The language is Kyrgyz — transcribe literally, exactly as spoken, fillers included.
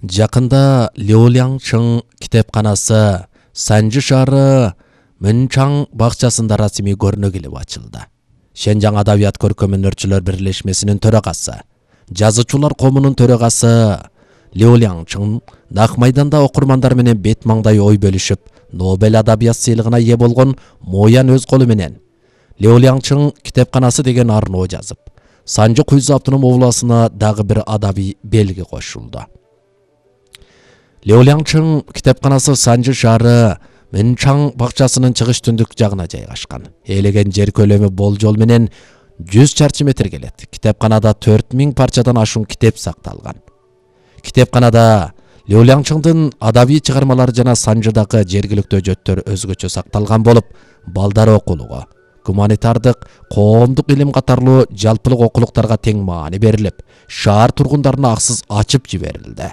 Жакында Лиулянчың китепканасы Санжы шаары Мынчаң бакчасында расмий көрүнө келип ачылды. Шенжаң адабият көркөм өнөрчүлөр бирлешмесинин төрагасы, жазуучулар коомунун төрагасы Лиулянчың Нак майданда окурмандар менен бет маңдай ой бөлүшүп, Нобель адабият сыйлыгына ээ болгон Моян өз колу менен Лиулянчың китепканасы деген арноо жазып, Санжы Куйзу автоном областына дагы бир адабий белги кошулду. Лиулянчың китепканасы Санжы шаары Мынчаң бакчасынын чыгыш түндүк жагына жайгашкан. Ээлеген жер көлөмү болжол менен жүз чарчы метр келет. Китепканада төрт миң парчадан ашуун китеп сакталган. Китепканада Лиулянчыңдын адабий чыгармалары жана Санжыдагы жергиликтүү өжөттөр өзгөчө сакталган болуп, балдар окулугу, гуманитардык, коомдук илим катарлуу жалпылык окулуктарга тең маани берилип, шаар тургундарына аксыз ачып жиберилди.